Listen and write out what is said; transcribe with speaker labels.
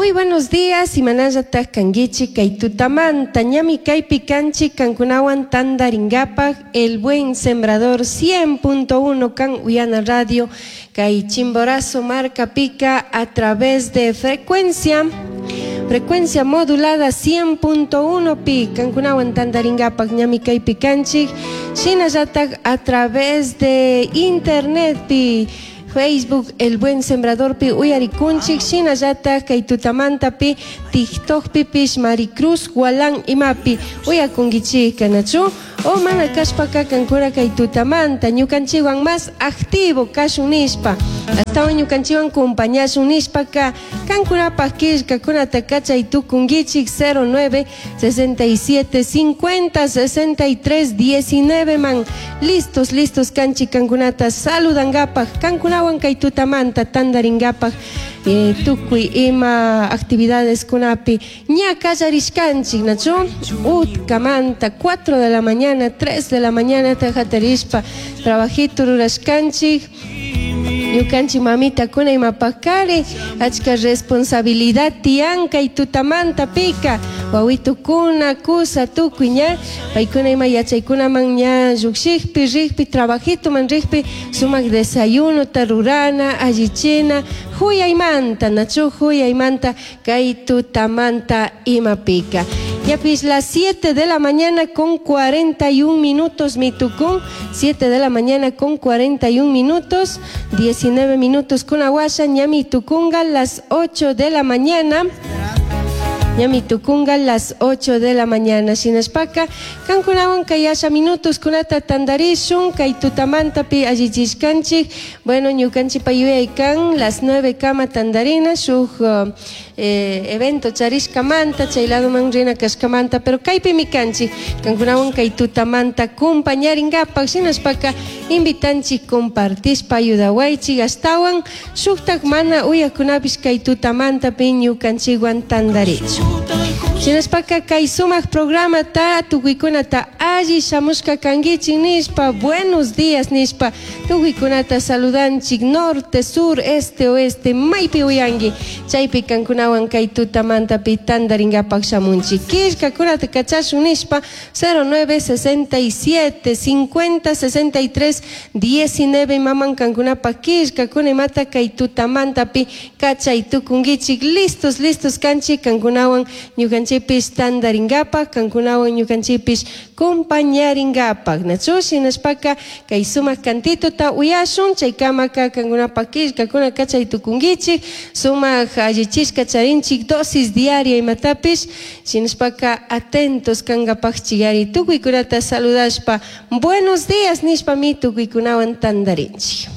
Speaker 1: Muy buenos días, imanallataq kankichik kay tutamanta, ñami kaypi kanchik kankunawan tandarinkapak El Buen Sembrador 100.1 kan Uyana Radio kay Chimborazo markapika a través de frecuencia frecuencia modulada 100.1 pi kankunawan tandarinkapak ñami kaypi kanchik shinallatak a través de internet pi Facebook El Buen Sembradorpi uyarikunchik shinallatak kay tutamantapi TikTokpipish Maricruz Gualán imapi uyakunkichik nachu o mana kashpaka kankuna kay tutamanta ñukanchikwan más activo kashun nishpa astawan ñukanchikwan compañashun nishpaka kankunapak killkakunata kachay tukunkichik 09 67 50 63 19 man listos listos kanchik kankunata saludankapak kankunawan kay tutamanta tandarinkapak eh, tukuy ima actividades kunapi ña kallarishkanchik nachu utkamanta 4 de la mañana 3 de la mañana hatarishpa trabajito rurashkanchik ñukanchik mamitakuna imapakari achka responsabilidad tiyan kay tutamanta pika wawitukuna kusa tukuy ña paykuna ima yachaykunaman ña llukshikpi rikpi trabajitoman rikpi sumak desayunota rurana allichina huyaymanta nachu huyaymanta kay tutamanta imapika Yapis las 7 de la mañana con 41 minutos, mitucún, 7 de la mañana con 41 minutos, 19 minutos con aguasha, ñami tucunga, las 8 de la mañana. Ñami tukunga las 8 de la mañana. Shinashpaka, kankunawan kayasha minutos kunata tandarishun, kay tutamantapi allichishkanchik. Bueno, ñukanchik yuyay kan las 9 kama tandarina, shuk eh, evento charishkamanta, chay ladoman rina kashkamanta, pero kaypimi kanchik, kankunawan kay tutamanta compañarinkapak, shinashpaka invitanchik compartishpa ayudawaychik astawan shuktak mana uyakunapish kay tutamantapi ñukanchikwan tandarichu. Shinashpaka kay sumak programata tukuykunata alli shamushka kankichik nishpa buenos días nishpa tukuykunata saludanchik norte, sur, este, oeste maypi uyanki chaypi kankunawan kay tutamantapi tandarinkapak shamunchik killkakunata kachashun nishpa 09 67 50 63 19 maman kankunapak killkakuna imata kay tutamantapi kachay tukunkichik listos listos kanchik kankunawan ñukanchikpish tandarinkapak kankunawan ñukanchikpish compañarinkapak nachu shinashpaka kay sumak cantitota uyashun chaykamaka kankunapak killkakuna kachay tukunkichik sumak allichishka charinchik dosis diaria imatapish shinashpaka atentos kankapakchik tukuykunata saludashpa buenos días nishpami tukuykunawan tandarinchik.